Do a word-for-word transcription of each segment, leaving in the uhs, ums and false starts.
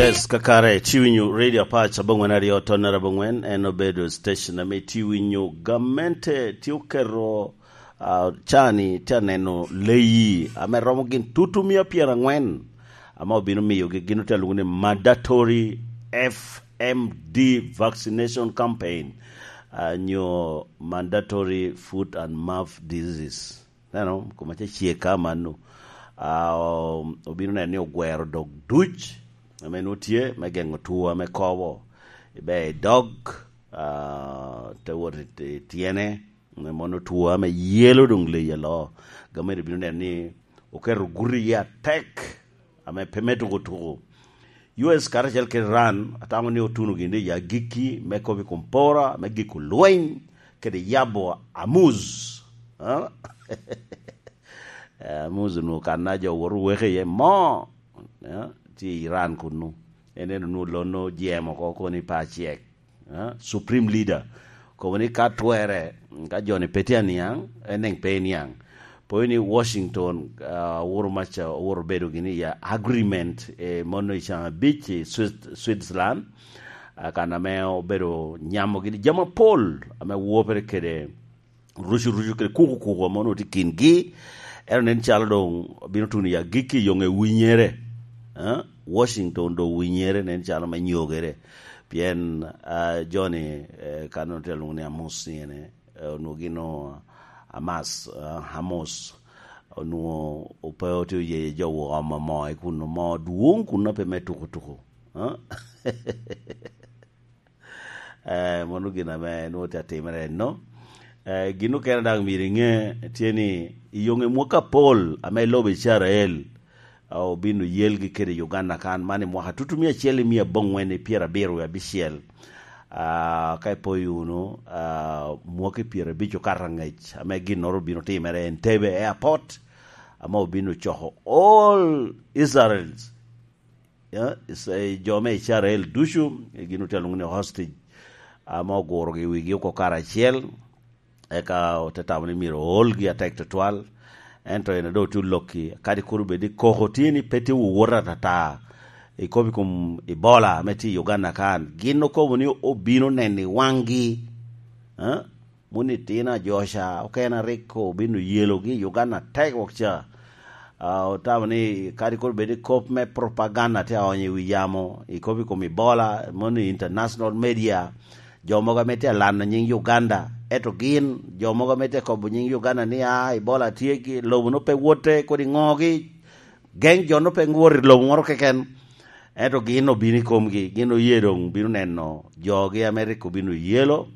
Yes, kakare, tye winyo Radio Apac abongwen aryo tonnere abongwen, en obedo station ame tye winyo gamente tye oketo, ah, cani tye aneno leyi ame romo gin tutu mia pyerangwen, ame obino miyogi gin otye alwoŋo ni mandatory F M D vaccination campaign, ah, nyo mandatory foot and mouth diseases. Neno, koma ce cie ka mano. Ah, o-, obino neno ni ogwero dog duc, ame nwoŋo tye, me geŋo two ame kobo. Ibe i dog, ah, te wot i, i tyene, me mono two ame yelo doŋ leyi alo. Gamente obino neno ni oketo guti iye atek, ame pe me tuko tuko. U S karacel kede Iran atamo ni otuno gin i agikki me kop i kom pora, me giko lweny, kede yabo Amuz. Ah? Eh, Amuz onwoŋo kan a jo woto weke iye mo. Eh, tye i Iran kunnu. En en onwoŋo lon ojemo oko koni pa acek. Ah, Supreme Leader. Kobo ni ka twerre, ka joni pe tye aniaŋ, en daŋ pe iniaŋ. Pwod ni Washington, ah, oworo maca, oworo bedo gini ya agreement, eh, mono i can abic i Swiss-, Switzerland, ah, kan ame obedo nyamo gini jami apol ame wopere kede rucu rucu kede kuku kuku ame onwoŋo tye i kingi. Ento nen calo doŋ bino tuno i agikki i yoŋe winyere. Ah, Washington doŋ winyere nen calo me nyogere. Pien, ah, joni, eh, kan onwoŋo tye alwoŋo ni Amus ni ene, eh, onwoŋo gin o Hamas, ah, Hamas, onwoŋo ope otye oye jo wok omo moo i kun omo dwoŋ kun pe me tuko tuko. Ah? Eh, mano gin ame nwoŋo tye atimere enno. Eh, gin okene daŋ myero iŋe tye ni i yoŋe mwaka apol ame lobo Icrael, ah, obino yelgi kede Uganda kan, man i mwaka tutu mia acel i mia aboŋwen i pyerabiro wie abicel. Ah, ka ipoyo wunu, ah, mwaki pyerabic okato angec ame ginnoro obino timere Entebbe Airport, ame obino coko all Israels, ya, is-, eh, jo me Icrael ducu, eh, gin otye alwoŋo ni hostage, ame ogurogi i wigi oko karacel, eka ote tamo ni myero oolgi atek tutwal. Ento en a doŋ tye olokki, kadi kur obed ni koko tye ni pe tye wowot atata i kop i kom Ebola ame tye i Uganda kan, gin okobo ni obino neno i waŋgi. Eh? Moni itino ajoca okene a rik obino yelogi i Uganda atek wok ca. Ah, otamo ni kadi kur bed i kop me propaganda tye aonyo i wi yamo, i kop i kom Ebola, moni international media, jo mogo ame tye alano nying Uganda, ento gin, jo mogo ame tye kobo nying Uganda ni, "Ah, Ebola tye ki lobo no pe wote, kodi ŋogi, geng jo no pe wot i lobo moro keken." Ento gin obino i komgi, gin oye doŋ bino neno jogi ame rik obino yelo.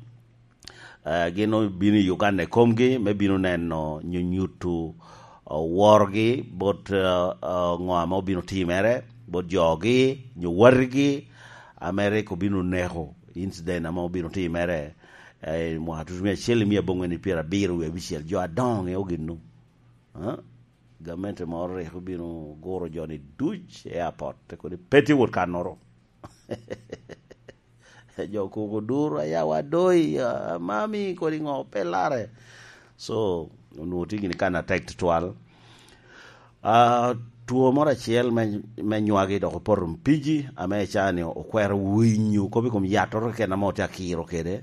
Eh, gin obino i Uganda i komgi me bino neno nyo nyuto, eh, worgi bot, eh, eh, ŋo ame obino timere, bot jogi, nyo watigi, ame rik obino neko, incident ame obino timere, eh, i mwaka tutu mia acel i mia aboŋwen i pyerabiro wie abicel, jo adoŋo ŋeo ginnu. Eh? Gamente moro rik obino guro joni duc i airport, te kodi pe tye wot kannoro. Jo koko duro, "Aya wa doi, ah, mami, kodi ŋo, pe lare." So, onwoŋo tye gini kan atek tutwal. Ah, two moro acel me, me nywagi dok opoto mpiji, ame icaa ni okwero winyo kop i kom yattoro keken ame otye akiro kede,